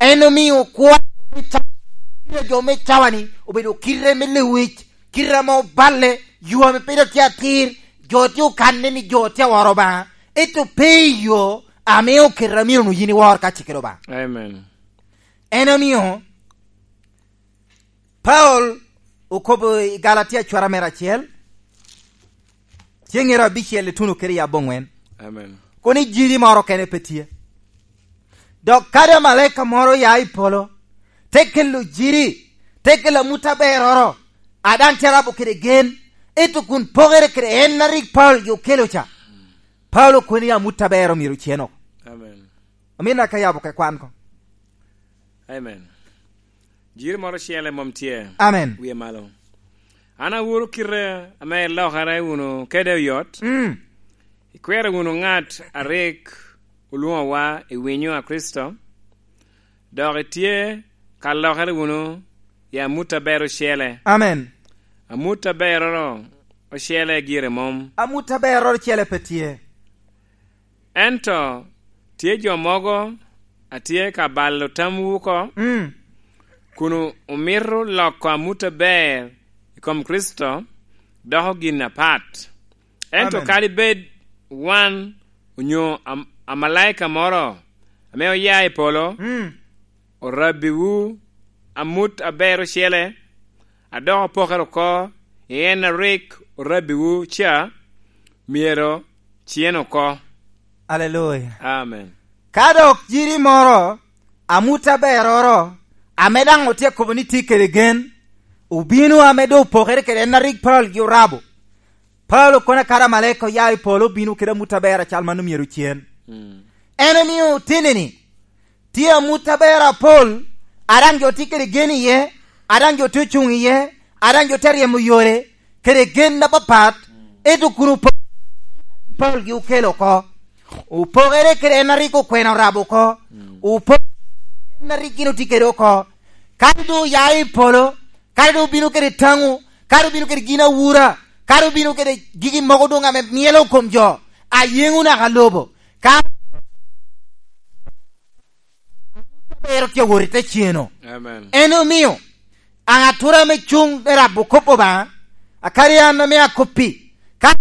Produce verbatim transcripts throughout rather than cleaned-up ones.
En omio kwo kite jo me cawa-ni obedo kite me lewic, kite ame oballe, yo ame pe dok tye atir, jo tye okanne ni jo tye aworo Obaŋa, ento pe i yo ame oketo a myero onwoŋo yin iwor ka cikere Obaŋa. Amen. En omio Paulo okobo i Galatia cwara mere acel, cengero abicel ituno kede i aboŋwen. Amen. Kono ijiri moro kene pe tye. Dok kadi amalaika moro ya i polo, te kelo jiri, te kelo amut aberoro, a daŋ tye arabo kede gen, ento kun pokere kede en a rik Paulo jo okelo ca. Paulo kono ni amut aber omyero ocen oko. Amen. Omin aka yabo ke kwan ko. Amen. Jiri moro ocele mom tye. Amen. Wie malo. An awuro kite ame ilokere wunu kede oyot. Mm. Ikwero wunu ŋat a rik olwoŋowa i winyo a Kricito, dok itye ka lokere wunu i amut aber ocele. Amen. Amut aberoro ocele gire mom. Amut aberoro ocele pe tye. Ento tye jo mogo a tye ka balo tamwu oko, mm, kun omito loko amut aber i kom Kricito doko gin apat. Ento amen, kadi bed wan onyo am-, amalaika moro ame oya i polo, mm, orabbiwu amut aber ocele, a dok opokere oko i en a rik orabbiwu ca, myero cen oko. Aleluya. Amen. Ka dok jiri moro, amut aberoro, ame daŋ otye kobo ni tye kede gen, obino ame doŋ opokere kede en a rik Paulo gi orabo. Paulo kono kara amalaika oya i polo obino kede amut aber acal mano myero cen. Mm. En omio tini-ni, tye amut aber apol, a daŋ jo tye kede gen iye, a daŋ jo tye ocuŋ iye, a daŋ jo tye aryemo yore, kede gen apapat, ento kun opo-, Paulo gi okelo oko. Opokere kede en a rik okwena orabo oko. Opokere kede en a rik gin otye kede oko. Kadi doŋ oya i polo, kadi doŋ obino kede taŋo, kadi obino kede gin awura, kadi obino kede gigi mogo doŋ ame myelo kom jo, a yeŋo naka lobo. Ka aber tye awot i te ceno. Amen. En omio, aŋatura ame cuŋ me rabo kop Obaŋa, akadi an ame akoppi, ka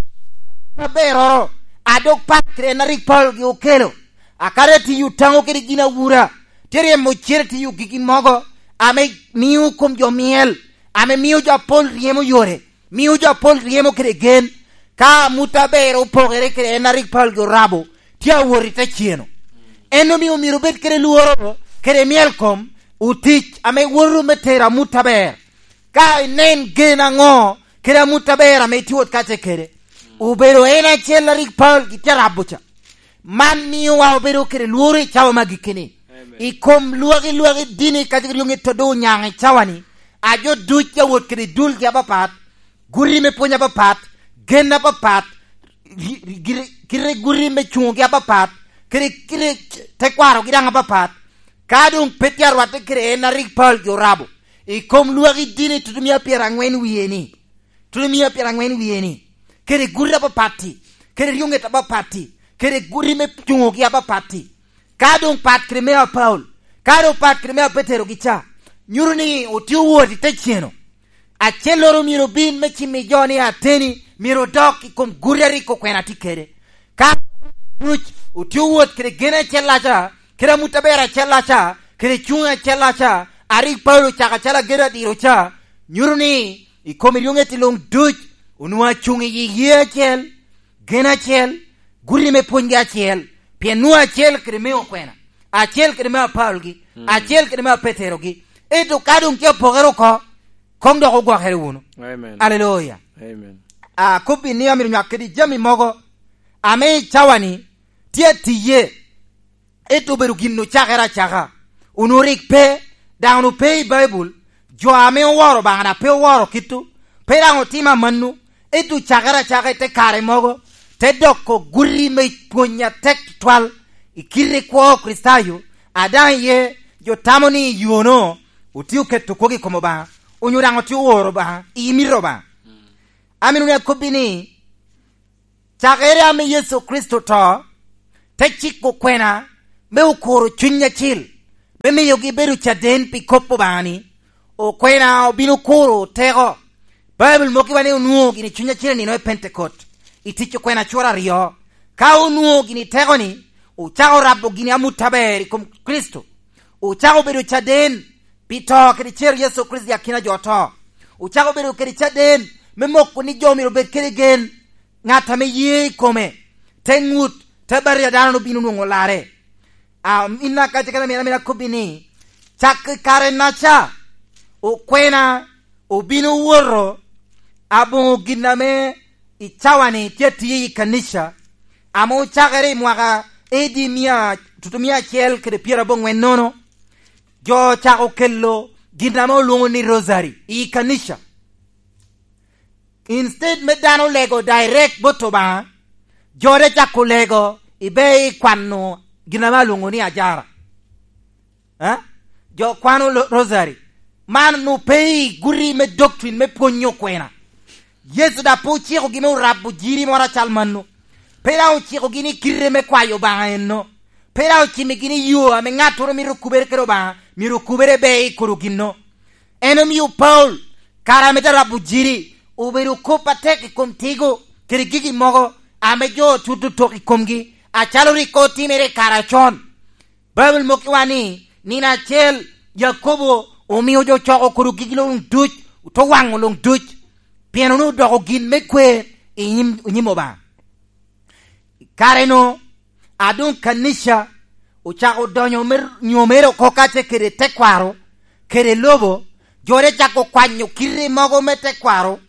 aberoro, a dok pat kede en a rik Paulo gi okelo, akadi atiyo taŋo kede gin awura, tye ryemo cen atiyo gigi mogo, ame mio kom jo myel, ame mio jo apol ryemo yore, mio jo apol ryemo kede gen, ka amut aber opokere kede en a rik Paulo gi orabo, tye awot i te ceno. En omio myero obed kede lworo, kede myel kom, otic ame woto me tero amut aber. Ka inen gen aŋo, kede amut aber ame itye wot kace kede, obedo en acel a rik Paulo gitye arabo ca. Man miowa obedo kede lworo i cawa me agikki-ni. Amen. I kom lwaki, lwaki dini kadi ryoŋet a doŋ onyaŋ i cawa-ni, a jo duc a wot kede dulgi apapat, guti me pwony apapat, gen apapat, ri-, ri-, giri-, kite guti me cuŋogi apapat, kede kite tekwarogi daŋ apapat. Ka doŋ pe tye arwatte kede en a rik Paulo gi orabo, i kom lwaki dini tutumia pyeraŋwen wie-ni, tutumia pyeraŋwen wie-ni, kede guti apapat-ti, kede ryoŋet apapat-ti, kede guti me cuŋogi apapat-ti. Ka doŋ pat kede me a Paulo, ka doŋ pat kede me a Petero gi ca, nyuto ni otye owot i te ceno. Acelloro myero obin me cimmi jo ni ateni myero odok i kom guti a rik okwena tye kede. Ka duc otye owot kede gen acellaca, kede amut aber acellaca, kede cuŋ acellaca, a rik Paulo ocako acalo agedo adiro ca, nyuto ni i kom eryoŋet luŋ duc onwoŋo acuŋ i yi ye acel, gen acel, guti me pwonygi acel, pien nwoŋo acel kede me okwena, acel kede me apalgi, mm, acel kede me apeterogi. Ento ka doŋ tye apokere oko, koŋ dok ogwokere wunu. Amen. Aleluya. Amen. Akobbi ni amito nywak kede jami mogo ame i cawa-ni tye atiye, ento obedo gin ocakere acaka, onwoŋo rik pe, daŋ onwoŋo pe i Baibul, jo ame oworo Obaŋa daŋ pe oworo kito, pe daŋ otimo amanno, ento ocakere acaka i te kare mogo, te doko guti me pwony atek tutwal i kite kwo Kricitayo, a daŋ iye jo tamo ni i yono otye oketo kwogo i kom Obaŋa, onyo daŋ otye oworo Obaŋa, i mito Obaŋa. Amito ni akobbi ni, cakere ame Yecu Kricito oto, te ciko kwena me okuro Cuny Acil, me miyogi bedo caden pi kop Obaŋa ni, okwena obino kuro teko. Baibul mokkiwa ni onwoŋo gini cuny acel i nino me Pentekot, i tic okwena cura aryo. Ka onwoŋo gini teko-ni, ocako rabo gini amut aber i kom Kricito. Ocako bedo caden pi to kede cer Yecu Kricito i akina jo oto. Ocako bedo kede caden me moko ni jo myero obed kede gen. Ŋat ame ye i kome, te ŋut, te batija dano obino nwoŋo larre. Aminna ka ce kede amina, amina kobbi ni, cak i kare-naca, okwena obino woto aboŋo gin ame i cawa-ni tye atiye i kanica, ame ocakere i mwaka A D mia, tutu mia acel kede pyeraboŋwen nono, jo ocako kelo gin ame olwoŋo ni rosary i kanica. Instead me dano lego direct bot Obaŋa, jo te cako lego i be i kwano gin ame alwoŋo ni ajara. Eh? Jo kwano lo-, rosary. Man onwoŋo pe i guti me doctrine me pwonyo okwena. Yecu daŋ pe ocikogi me orabo jiri moro acal mano. Pe daŋ ocikogi ni kite me kwayo Obaŋa enno. Pe daŋ ocimigi ni yo ame ŋattoro mito okubere kede Obaŋa, myero okubere be i kodo ginno. En omio Paulo, kare ame te rabo jiri, obedo kop atek i kom tigo kede gigi mogo ame jo otuto tok i komgi, acalo rik otimere i kare acon. Baibul mokkiwa ni, nino acel Yakobo omio jo coko kodo gigi luŋ duc, ote waŋo luŋ duc, pien onwoŋo odoko gin me kwer i nyim, i nyim Obaŋa. I kare-nu, a doŋ kanica ocako donyo me nyomere oko kacel kede tekwaro kede lobo, jo te cako kwanyo kite mogo me tekwaro,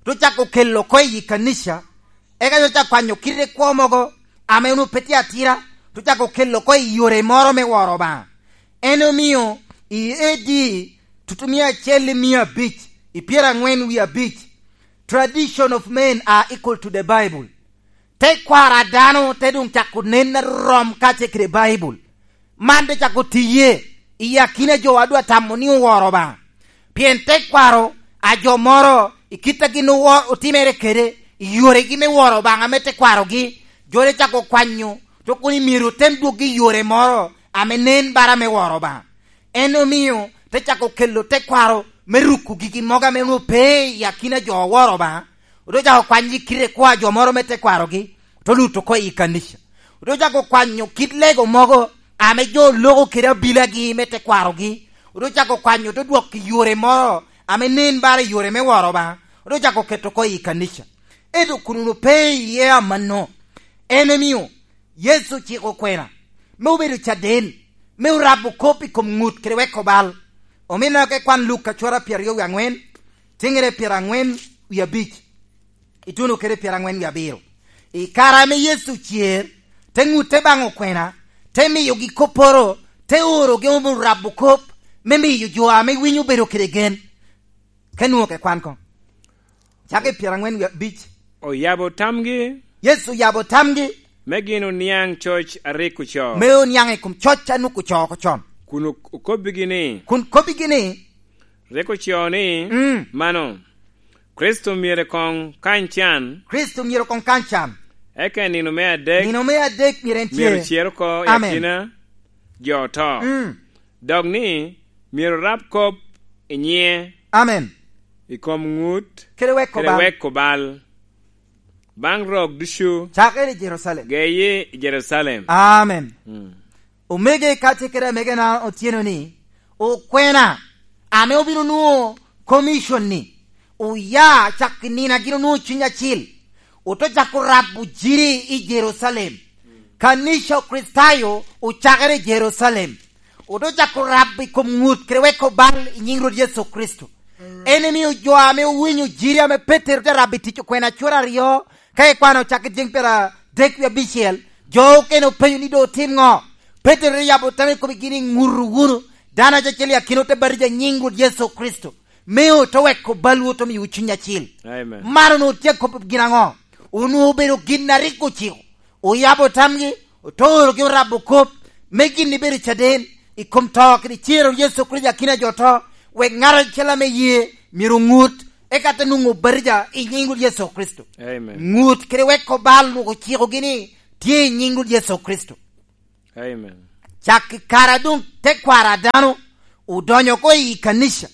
te cako kelo oko i kanica, eka jo te cako kwanyo kite kwo mogo ame onwoŋo pe tye atira, te cako kelo oko i yore moro me woro Obaŋa. En omio i A D tutu mia acel i mia abic, i pyeraŋwen wie abic, tradition of men are equal to the Bible. Tekwaro a dano te doŋ cako nen arom kacel kede Baibul. Man te cako tiye i akina jo a dwa tamo ni oworo Obaŋa. Pien tekwaro a jo moro i kit a gin owo-, otimere kede i yoregi me woro Obaŋa me tekwarogi, jo te cako kwanyo, to kono myero otem dwoggi i yore moro ame nen bara me woro Obaŋa. En omio te cako kelo tekwaro me ruko gigi mogo ame onwoŋo pe i akina jo oworo Obaŋa, ote cako kwanyo kite kwo a jo moro me tekwarogi, ote luto oko i kanica. Ote cako kwanyo kit lego mogo ame jo loko kede abilagi me tekwarogi, ote cako kwanyo, ote dwoko i yore moro ame nen bara i yore me woro Obaŋa, ote cako keto oko i kanica. Ento kun onwoŋo pe iye amanno, en omio Yecu ociko okwena me obedo caden, me orabo kop i kom ŋut kede weko bal. Omina ka ikwan Luka cwara pyeraryo wie aŋwen, tiŋere pyeraŋwen wie abic, ituno kede pyeraŋwen wie abiro. I kare ame Yecu cer, te ŋutte baŋ okwena, te miyogi kopporo, te orogi me orabo kop, me miyo jo ame winyo obedo kede gen. Ka nwoŋo ke kwan koŋ. Cak i pyeraŋwen wie abic. Oyabo tamgi. Yecu oyabo tamgi. Me gin oniaŋ coc a rik ocoo. Me oniaŋ i kom coc a nuk ocoo oko con. Kun ok-, okobbigi ni. Kun kobbigi ni. Rik ocoo ni, mm, mano, Kricito myero koŋ kany can. Kricito myero koŋ kany can. Eka i nino me adek. Nino me adek myero en tye. Myero cer oko i, amen, akina jo oto. Mm. Dok ni myero rab kop i nyiŋe. Amen. I kom ŋut kede weko bal. Kede weko bal. Baŋ rok ducu. Cakere i Jerucalem. Geye i Jerucalem. Amen. Mm. Omege ka ce kede amegena otyeno ni, okwena ame obino nwoŋo commission ni, oya cak i nino a gin onwoŋo Cuny Acil, ote cako rabo jiri i Jerucalem. Kanica Okricitayo ocakere i Jerucalem. Ote cako rabo i kom ŋut kede weko bal i nyiŋ Rwot Yecu Kricito. En emio jo ame owinyo jiri ame Petero te rabo i tic okwena cwara aryo, ka ikwano cak i ceng pyeradek wie abicel, jo okene openyo ni, "Doŋ otim ŋo?" Petero te yabo tammi kobbi gini, "Ŋutu wunu dano acel i akinawu te batija i nyiŋ Rwot Yecu Kricito, me ote weko balwu, ote miyowu Cuny Acil." Amen. Man onwoŋo tye akobbi gin aŋo? Onwoŋo obedo gin a rik ociko. Oyabo tamgi, ote orogi orabo kop, me gin ibedo caden i kom to kede cer a Yecu Kricito i akina jo to, wek ŋat acel ame ye myero oŋut, eka te nwoŋo batija i nyiŋ Rwot Yecu Kricito. Amen. Ŋut kede weko bal onwoŋo ocikogi ni tye i nyiŋ Rwot Yecu Kricito. Amen. Cak i kare a doŋ tekwaro a dano odonyo oko i kanica,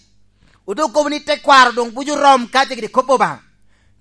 ote okobo ni tekwaro doŋ buco rom kacel kede kop Obaŋa.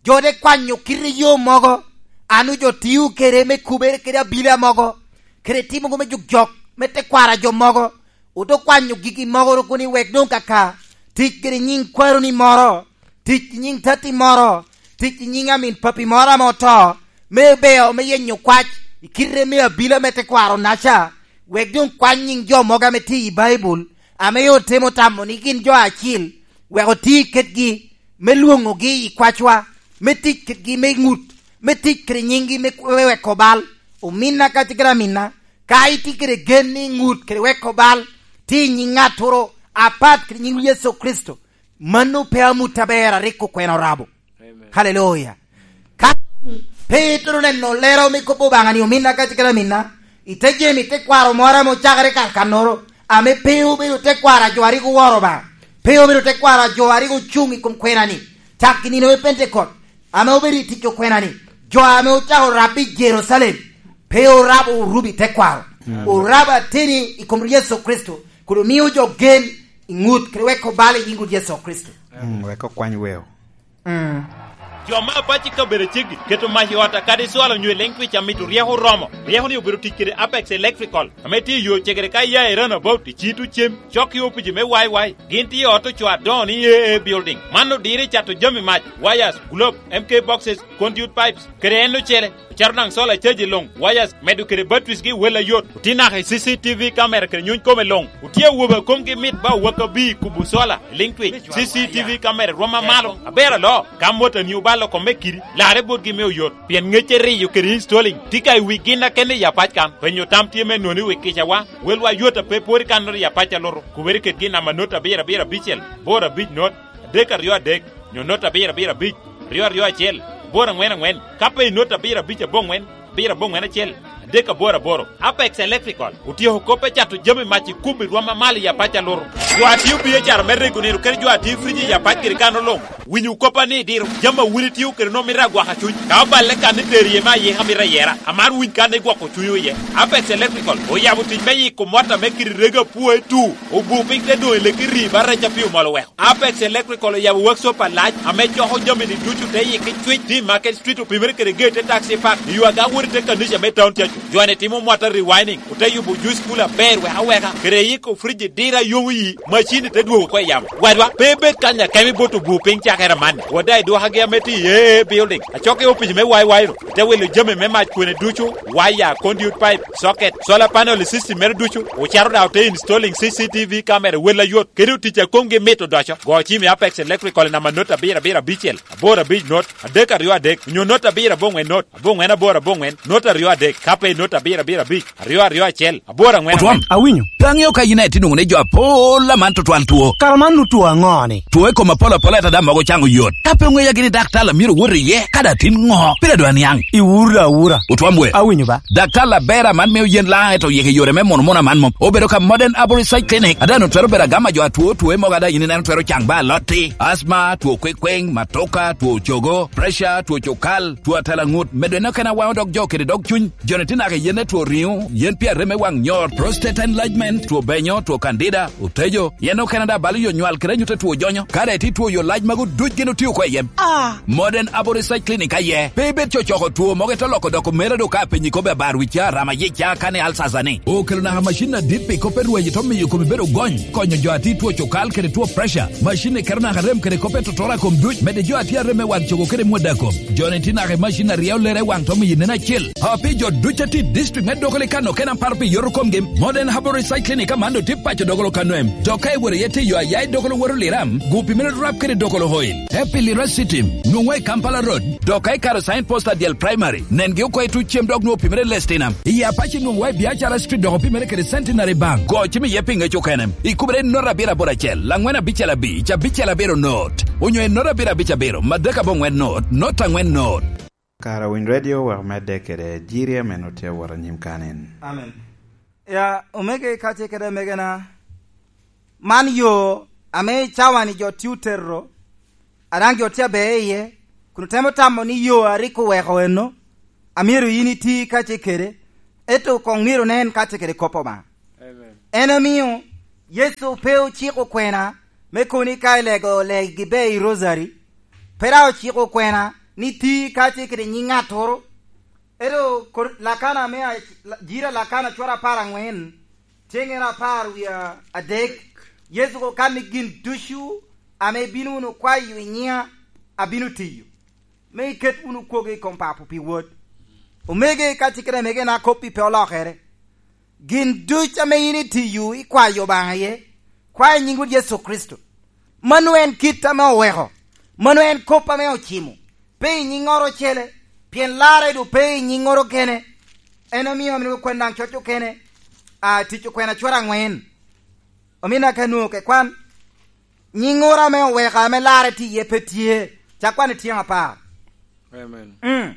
Jo te kwanyo kite yo mogo, a nwoŋo jo tio kede me kubere kede abila mogo, kede timo me jok jok me tekwaro a jo mogo. Ote kwanyo gigi mogo ru kun i wek doŋ kaka tic kede nyiŋ kwaroni moro, tic i nyiŋ tatti moro, tic i nyiŋ amin papi moro ame oto, me beo, me yenyo kwac i kite me abila me tekwaro-naca, wek doŋ kwany nyiŋ jo mogo ame tye i Baibul, ame otemo tamo ni gin jo acil, wek oti kedgi me lwoŋogi i kwacwa, me tic kedgi me ŋut, me tic kede nyiŋgi me, me weko bal. Ominna kacel kede aminna, ka itye kede gen ni ŋut kede weko bal tye i nyiŋ ŋattoro apat kede nyiŋ Yecu Kricito, mano pe amut aber a rik okwena orabo. Amen. Haleluya. Ka pe itero neno lero me kop Obaŋa ni ominna kacel kede aminna, ite jemi tekwaro moro ame ocakere kakannoro, ame pe obedo tekwaro a jo a rik oworo Obaŋa, pe obedo tekwaro a jo a rik ocuŋ i kom kwena-ni, cak i nino me Pentekot, ame obedo i tic okwena-ni, jo ame ocako rabo i Jerucalem, pe orabo orubo i tekwaro, mm, orabo ateni i kom Yecu Kricito, kun omio jo gen i ŋut kede weko bal i nyiŋ Rwot Yecu Kricito. Mm, wek okwany weo. Mm. Jo me apac i kabedo aceggi keto mac i ot a kadi cwalo onyo i leŋ twic amito ryeko oromo. Ryeko-ni obedo tic kede Apex Electrical, ame tye i yo cegere ka iya i Roundabout i Cito Cem, cok i opici me Y Y. Gin tye i ot ocoo adoŋo ni A A Building. Man odiro i cato jami mac, wires, globe, M K boxes, conduit pipes, kede en ocele. Ocero daŋ solar charge luŋ, wires, medo kede batteries gi wel ayot. Otye naka i C C T V camera kede nyuny kome luŋ. Otye awobe a komgi mit ba owaka bi kubo solar, liŋ twic. C C T V camera rwom amalo, aber alo. Ka motani obalo kome kidi, larre botgi me oyot. Pien ŋecce riyo kede installing tye ka i wi gin a kene i apac kan. Penyo tam tye me nwoŋo i wi kicawa. Welwa yot a pe pwod i kannoro i apac a lutu. Kubere kedgi i namba not abiro abiro abicel, boro abic not, adek aryo adek, nyo not abiro abiro abic, aryo aryo acel, aboro aŋwen aŋwen, ka pe i not abiro abic aboŋwen, abiro aboŋwen acel, adek aboro aboro. Apex Electrical otyeko kop me cato jami mac i kum i rwom amalo i apac a lutu. Jo a tio biacara me rego nino kede jo a tio friji i apac kede kano luŋ, winyo koppa ni diro jami a wun itio kede nwoŋo mito agwaka cuny. Ka oballe kan ni tero iye me ayika mito ayera, amaro winy kan ni gwoko cunywu iye. Apex Electrical oyabo tic me yiko mot ame kite rego apwoe tu, obu piny te doŋ i leki rii ba rec a pi omol oweko. Apex Electrical oyabo workshop alac ame coko jami-ni ducu te yikki cwic, tye i Market Street, opimere kede gate te Taxi Park, i yo aga wot i te kanica me town cacu. Jo-ni timo mota rewinding, ote yubo juice cooler aber wek aweka, kede yiko friji dira yomo yi, macin-ni te dwogo oko i yamo. Wadwa, pe ibed kany akemi bot obu piny cakere amanni. Wada i dwokagi ame tye i A A Building, acok i opic me Y Y ru, ite wilo jami me mac kwene ducu, waya, conduit pipe, socket, solar panel i system mere ducu, ocaro daŋ ote installing C C T V camera wel ayot, kede otic a komgi mit odoco. Go cim i Apex Electrical i namba not abiro abiro abicel, aboro abic not, adek aryo adek, onyo not abiro aboŋwen not, aboŋwen aboro aboŋwen, not aryo adek, ka pe not abiro abiro abic, aryo aryo acel, aboro aŋwen Otwom, aŋwen. Awinyo. Pe aŋeo ka yin aye tye nwoŋo ni jo apol aman tutwal two. Kara man nu two aŋo-ni? Two i kom apol apol, ento daŋ mogo caŋo yot. Ka pe oŋeya gini daktar a myero owot iye, kadi atin ŋo? Pire dwa niaŋ. Iwura awura. Otwom we. Awinyo ba. Daktar aber aman mio yen laŋ, ento oyiko yore me mono mono aman mom. Obedo ka Modern Arborist Side Clinic. Ada nu twero bedo agama jo atwo, two mogo ada yin ineno twero caŋ ba alotti. Asma, two kwekweng, matoka, two cogo, pressure, two cukal, two atela ŋut. Medo eno kena waŋo dog jo kede dog cuny. Joni tye naka i yen me two riŋo, yen pi arem me waŋ nyor, prostate enlargement, two benyo, two candida, otejo, yen okene daŋ balo yo nywal kede anyut a two jonyo. Ka daŋ itye two yo lac magu duc gin otio oko i yem. Ah! Modern Abo Research Clinic aye. Pe ibed cocoko two mogo ite loko doko mere do ka apenyi kobbe abar wi ca, rama yic ca, kane alsasa ni. Okelo naka macin adit pi kop me rweyo to miyo komi bedo gony, konyo jo a tye two cukal kede two pressure. Macin-ni keto naka rem kede kop me totora kom duc, medde jo a tye arem me waŋ cogo kede mwada kom. Joni tye naka i macin a ryeo lere i waŋ to miyo inen acil. A pi jo duc a tye i district me Dokolo i Kano kena paro pi yoto komgi, Modern Herbal Research Clinic aman doŋ tye paco Dokolo Kano em. Dok ka iworo iye tye yo a ya i Dokolo woto Liram, gu pi mere rap kede Dokolo Oil. Te pi Lira City, nwoŋwa i Kampala Road. Dok ka ikaro sign post a dyel primary, nengi oko i tuc cem dok nwoŋo pi mere Lestinam. I Apac nwoŋwa i Biacara Street dok opimere kede Centenary Bank. Go cim iye pi ŋec okene. Ikubere i not abiro aboro acel, laŋwen abicel abic, abicel abiro not. Onyo i not abiro abic abiro, madek aboŋwen not, not aŋwen not. Kara Winy Radio wek omedde kede jiri ame nut tye awot anyim kanen. Amen. Ya, omege ka ce kede megena, man yo ame cawa-ni jo tye otero, a daŋ jo tye aber iye, kun otemo tamo ni yo a rik oweko eno, a myero yin iti ka ce kede, ento koŋ myero nen ka ce kede kop Obaŋa. En omio Yecu pe ociko kwena me kono ni ka ilego legi be i rosary, pe daŋ ociko kwena ni ti ka tye kede nyiŋ ŋattoro. Ento kor-, Lakana me a-, la-, jira Lakana cwara apar aŋwen, tyeŋere apar wie adek, Yecu ko kan ni gin ducu ame ibino wunu kwayo i nyiŋa, abino tiyo, me iket wunu kwogo i kom Papo pi Wod. Omege, ka tye kede mege na kop i pe olokere. Gin duc ame yin itiyo i kwayo Obaŋa iye, kwa i nyiŋ Wod Yecu Kricito. Mano en kit ame oweko, mano en kop ame ocimo. Pe i nyiŋŋoro ocele, pien larre doŋ pe i nyiŋŋoro kene. En omio amito kwen daŋ coc okene, a, Tic Okwena cwara aŋwen. Omina ka nwoŋo ke kwan, nyiŋŋoro ame oweko ame larre tye iye pe tye, ca kwan i tyeŋ apar. Amen. Mm.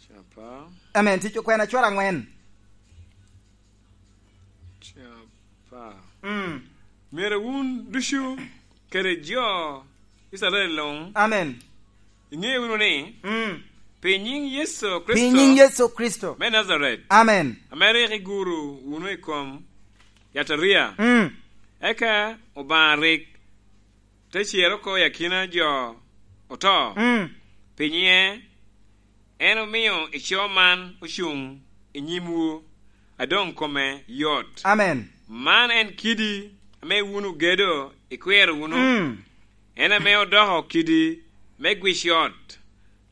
Capa. Amen. Tic Okwena cwara aŋwen. Capa. Mm. Myero wun ducu kede jo Icrael luŋ. Amen. Iŋe wunu ni, mm, pi nyiŋ Yecu Pi Kricito nyiŋ Yecu Kricito. Me Najaret, Amen. Ame rik iguro wunu i kom yataria, Mm. eka Obaŋa rik te cer oko i akina jo oto. Mm. Pi nyiŋe, en omio ico man ocuŋ i nyimwu, a doŋ kome yot. Amen. Man en kidi ame wun ogedo ikwero wunu. Mm. En ame odoko kidi me gwic ot.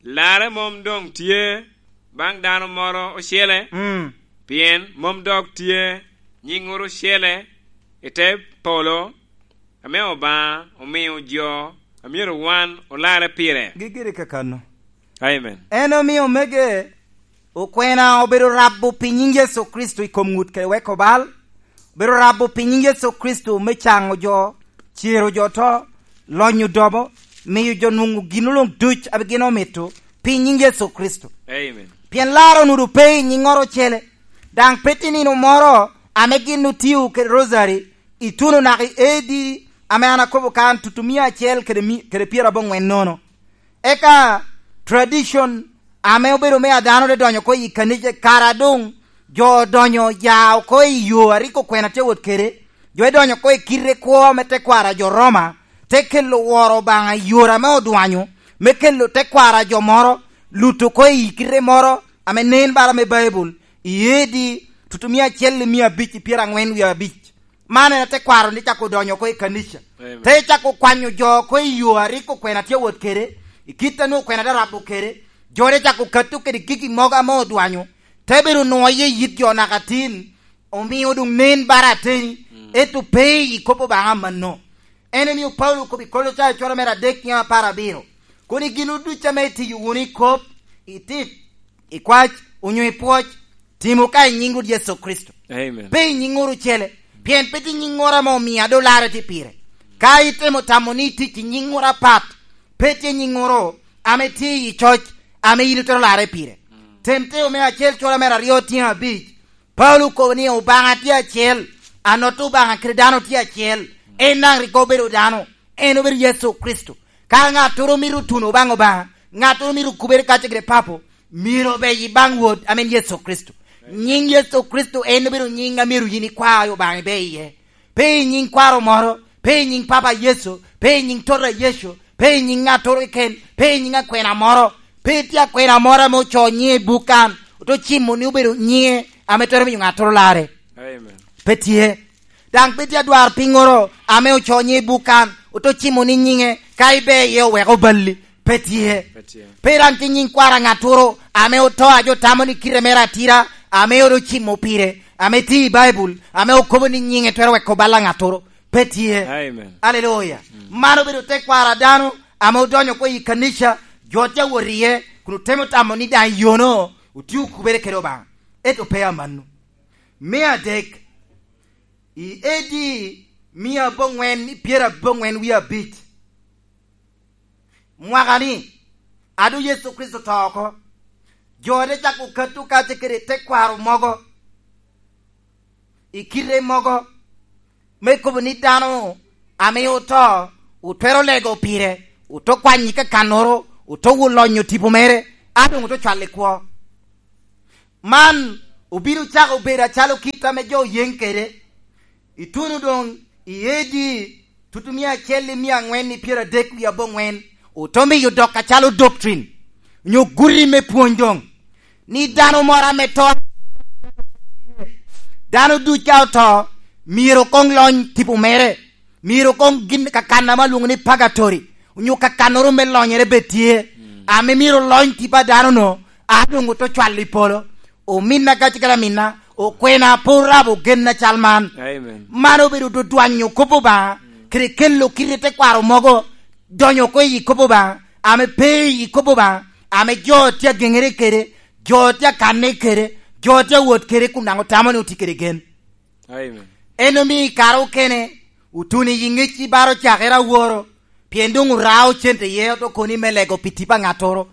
Larre mom doŋ tye baŋ dano moro ocele, Mm. pien mom dok tye nyiŋŋoro ocele i te polo, ame Obaŋa omio jo a myero wan olarre pire. Gigire kakano. Amen. En omio omege okwena obedo rabo pi nyiŋ Yecu Kricito i kom ŋut kede weko bal, obedo rabo pi nyiŋ Yecu Kricito me caŋo jo, cero jo to, lonyo dobo, miyo jo nwoŋo gin luŋ duc ame gin omito pi nyiŋ Yecu Kricito. Amen. Pien larre onudo pe i nyiŋŋoro ocele, daŋ pe tye nino moro ame gin otio kede rosary, ituno naka i A D ame an akobo kan, tutu mia acel kede mi-, kede pyeraboŋwen nono. Eka tradition ame obedo me a dano te donyo oko i kanica, kara doŋ jo odonyo ya oko i yo a rik okwena tye wot kede, jo edonyo oko i kite kwo me tekwaro a jo Roma, te kelo woro Obaŋa i yore ame odwanyo, me kelo tekwaro a jo moro, luto oko i kite moro ame nen bala me Baibul, i A D tutu mia acel i mia abic i pyeraŋwen wie abic. Man en atekwaro ni cako odonyo oko i kanica. Amen. Te cako kwanyo jo oko i yo a rik okwena tye wot kede, i kit a nwoŋo okwena te rabo kede. Jo te cako kato kede gigi mogo ame odwanyo, te bedo nwoŋo iye yit jo naka tin, omio doŋ nen bara ateni, Mm. ento pe i kop Obaŋa mano. En omio Paulo okobo i Kolocayo cwara mere adek nyiŋ apar abiro, kono i gin ducu ame itiyo wunu i kop, i tit, i kwac, onyo i pwoc, timo ka i nyiŋ Rwot Yecu Kricito. Amen. Pe i nyiŋŋoro ocele, pien pe tye nyiŋŋoro ame omio a doŋ larre tye pire. Ka itemo tamo ni itic i nyiŋŋoro apat, pe tye nyiŋŋoro ame tye i coc ame yin itwero larre pire. Mm. Timoteo me acel cwara mere aryo tyeŋ abic, Paulo okobo ni Obaŋa tye acel, anot Obaŋa kede dano tye acel, en daŋ rik obedo dano, en obedo Yecu Kricito. Ka ŋattoro mito tuno baŋ Obaŋa, ŋattoro mito kubere kacce kede Papo, myero obey baŋ Wod, amen Yecu Kricito. Nyiŋ Yecu Kricito en obedo nyiŋ a myero yin ikwa Obaŋa ibe iye. Pe i nyiŋ kwaro moro, pe i nyiŋ Papa Yecu, pe i nyiŋ tota Yecu, pe i nyiŋ ŋattoro keken, pe i nyiŋ akwena moro, pe tye akwena moro ame ocoo nyiŋe i buk kan, ote cimo ni obedo nyiŋe ame twero miyo ŋattoro larre. Amen. Pe tye. Daŋ pe tye adwar piŋoro ame ocoo nyiŋe i buk kan, ote cimo ni nyiŋe ka ibe iye oweko balli. Pe tye. Pe tye. Pe daŋ tye nyiŋ kwaro a ŋattoro ame oto a jo tamo ni kite mere atira, ame ote ocimo pire, ame tye i Baibul, ame okobo ni nyiŋe twero weko bal a ŋattoro. Pe tye. Amen. Aleluya. Mm. Man obedo tekwaro a dano ame odonyo oko i kanica, jo tye awot iye, kun otemo tamo ni daŋ yono otio kubere kede Obaŋa. Ento pe amanno. Me adek, i A D mia aboŋwen i pyeraboŋwen wie abic, mwaka-ni, a doŋ Yecu Kricito oto oko, jo te cako kato kacce kede tekwaro mogo, i kite mogo, me kobo ni dano ame oto, otwero lego pire, oto kwanyo i kakannoro, oto wo lonyo tipo mere, a doŋ oto cwalo i kwo. Man Obino cako bedo acalo kit ame jo oyeŋ kede. Ituno doŋ i A D tutumia acel i mia aŋwen i pyeradek wie aboŋwen, otomiyo dok acalo doctrine, onyo guti me pwony doŋ, ni dano moro ame to, dano duc ka oto, myero koŋ lony tipo mere, myero koŋ gin kakan ame alwoŋo ni purgatory, onyo kakannoro me lonyere bed tye, ame myero lony tipo a dano-nu, a doŋ oto cwalo i polo. Ominna ka cikere aminna, okwena pe orabo gen acal man. Amen. Man obedo dodwanyo kop Obaŋa, kede kelo kite tekwaro mogo, donyo oko i kop Obaŋa, ame pe i kop Obaŋa, ame jo tye ageŋere kede, jo tye akanne kede, jo tye awot kede kun daŋ otamo ni otye kede gen. Amen. En omio i kare okene, otuno i ŋec i baro cakere aworo, pien doŋ orao cente iye oto koni me lego pi tipo a ŋattoro.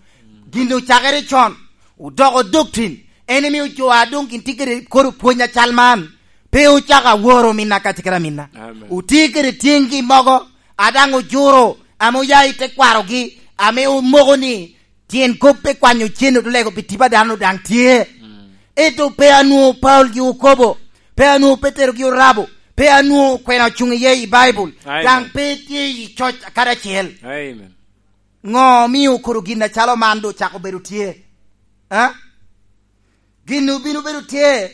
Gin ocakere con, odoko doctrine, en omio jo a doŋ gin tye kede kodo pwony acal man, pe ocako aworo minna ka cikere aminna. Amen. Otye kede tyeŋgi mogo, a daŋ ojuro, ame oya i tekwarogi, ame omoko ni, tyen kop pe kwanyo cen oto lego pi tipo a dano daŋ tye. Ento pe anwoŋo Paulo gi okobo, pe anwoŋo Petero gi orabo, pe anwoŋo kwena ocuŋ iye i Baibul, amen, daŋ pe tye i coc kadi acel. Amen. Ŋo omio okoro gin acalo man doŋ ocako bedo tye? A? Gin obino bedo tye